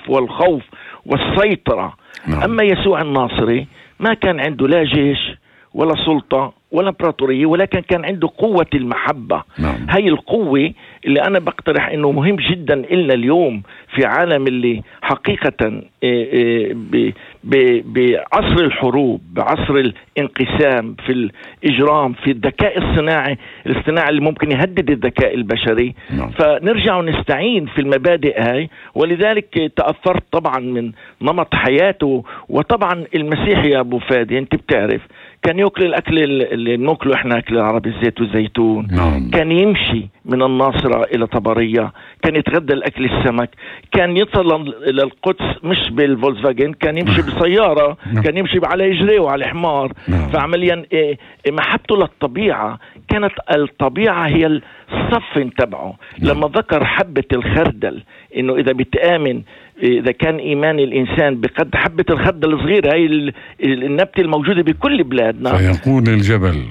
والخوف والسيطرة. أما يسوع الناصري ما كان عنده لا جيش ولا سلطة ولا امبراطورية، ولكن كان عنده قوة المحبة. هاي القوة اللي أنا بقترح إنه مهم جدا إلنا اليوم في عالم اللي حقيقة بعصر الحروب، بعصر الانقسام، في الإجرام، في الذكاء الاصطناعي اللي ممكن يهدد الذكاء البشري. فنرجع ونستعين في المبادئ هاي. ولذلك تأثرت طبعا من نمط حياته. وطبعا المسيح يا أبو فادي أنت بتعرف كان يأكل الأكل اللي نأكله إحنا أكل العربي، الزيت والزيتون. كان يمشي من الناصرة إلى طبرية، كان يتغدى الأكل السمك، كان يصل إلى القدس مش بالفولكسفاجن، كان يمشي بسيارة، كان يمشي على إجريه وعلى حمار. فعمليا محبته للطبيعة كانت الطبيعة هي الصف تبعه. لما ذكر حبة الخردل، إنه إذا بتآمن، إذا كان إيمان الإنسان بقد حبة الخردل الصغيرة، هاي النبتة الموجودة بكل بلادنا، فيقول الجبل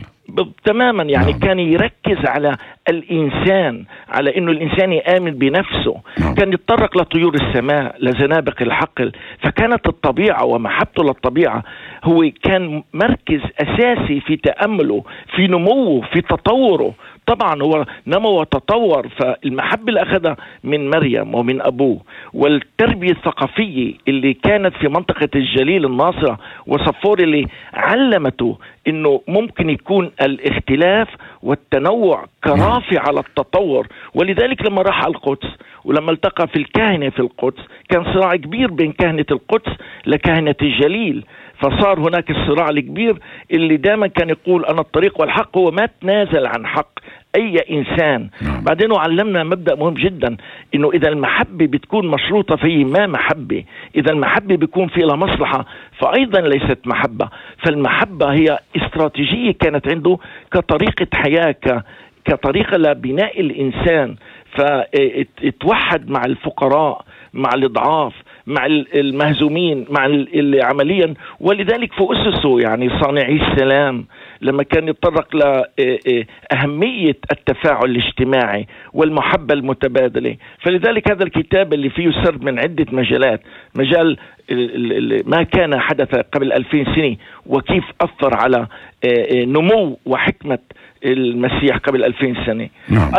تماما. يعني كان يركز على الإنسان، على إنه الإنسان يآمن بنفسه. كان يتطرق لطيور السماء، لزنابق الحقل. فكانت الطبيعة ومحبته للطبيعة هو كان مركز أساسي في تأمله، في نموه، في تطوره. طبعا هو نمو وتطور. فالمحبة اللي أخذها من مريم ومن أبوه، والتربية الثقافية اللي كانت في منطقة الجليل الناصرة وصفور اللي علمته إنه ممكن يكون الاختلاف والتنوع كرافع على التطور. ولذلك لما راح على القدس ولما التقى في الكهنة في القدس، كان صراع كبير بين كهنة القدس لكهنة الجليل. فصار هناك الصراع الكبير اللي دائما كان يقول أنا الطريق والحق. هو ما تنازل عن حق أي إنسان. بعدين علمنا مبدأ مهم جدا، إنه إذا المحبة بتكون مشروطة في ما محبة، إذا المحبة بيكون فيها مصلحة، فأيضا ليست محبة. فالمحبة هي استراتيجية كانت عنده كطريقة حياة، كطريقة لبناء الإنسان. فتوحد مع الفقراء، مع الضعاف، مع المهزومين، مع عمليا. ولذلك في أسسه يعني صانعي السلام لما كان يتطرق لأهمية التفاعل الاجتماعي والمحبة المتبادلة. فلذلك هذا الكتاب اللي فيه سرد من عدة مجالات، مجال ما كان حدث قبل 2000 سنة وكيف أثر على نمو وحكمة المسيح قبل 2000 سنة.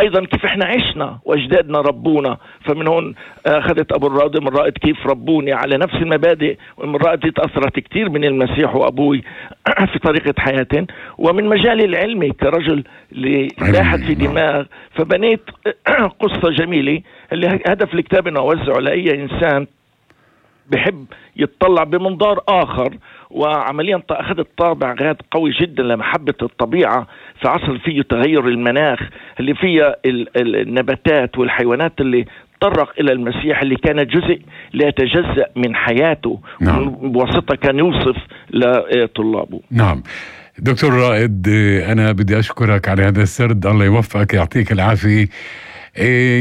أيضا كيف احنا عشنا وأجدادنا ربونا. فمن هون أخذت أبو الرائد من رائد كيف ربوني على نفس المبادئ، ومن رائد تأثرت كتير من المسيح وأبوي في طريقة حياتهم. ومن مجالي العلمي كرجل اللي لاحت في دماغ، فبنيت قصة جميلة اللي هدف الكتاب أنه أوزعه لأي إنسان بحب يتطلع بمنظار آخر. وعمليا أخذت طابع غاد قوي جدا لمحبة الطبيعة في عصر فيه تغير المناخ، اللي فيه النباتات والحيوانات اللي تطرق إلى المسيح، اللي كان جزء لا يتجزأ من حياته. بواسطة كان يوصف لطلابه. نعم دكتور رائد، أنا بدي أشكرك على هذا السرد. الله يوفقك، يعطيك العافية.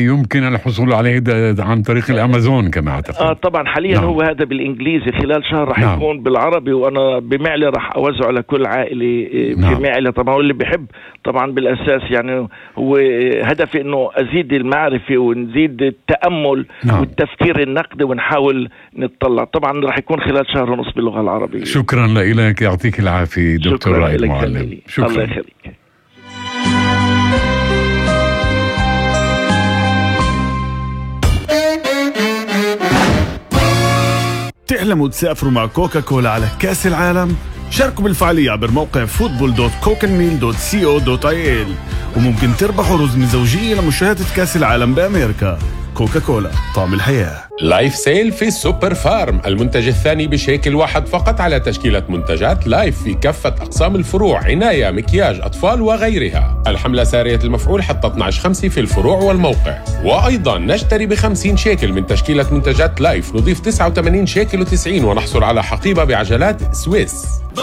يمكن الحصول عليه عن طريق الأمازون كما أعتقد. طبعا حاليا هو هذا بالإنجليزي، خلال شهر رح يكون بالعربي. وأنا بمعلة رح أوزعه لكل عائلة بمعلة طبعا. واللي بحب طبعا بالأساس يعني هو هدفي إنه أزيد المعرفة ونزيد التأمل والتفكير النقدي، ونحاول نتطلع. طبعا رح يكون خلال شهر ونص باللغة العربية. شكرا لك، يعطيك العافية دكتور رائد معلم. شكرا. الله يخليك. تحلموا تسافروا مع كوكاكولا على كأس العالم؟ شاركوا بالفعالية عبر موقع football.cokenmeal.co.il وممكن تربحوا رزمة زوجية لمشاهدة كأس العالم بأمريكا. كوكاكولا، طعم الحياة. لايف سيل في سوبر فارم، المنتج الثاني بشيكل واحد فقط على تشكيلة منتجات لايف في كافة أقسام الفروع، عناية، مكياج، أطفال وغيرها. الحملة سارية المفعول حتى 12/5 في الفروع والموقع. وأيضا نشتري ب50 شيكل من تشكيلة منتجات لايف نضيف 89 شيكل و90 ونحصل على حقيبة بعجلات سويس.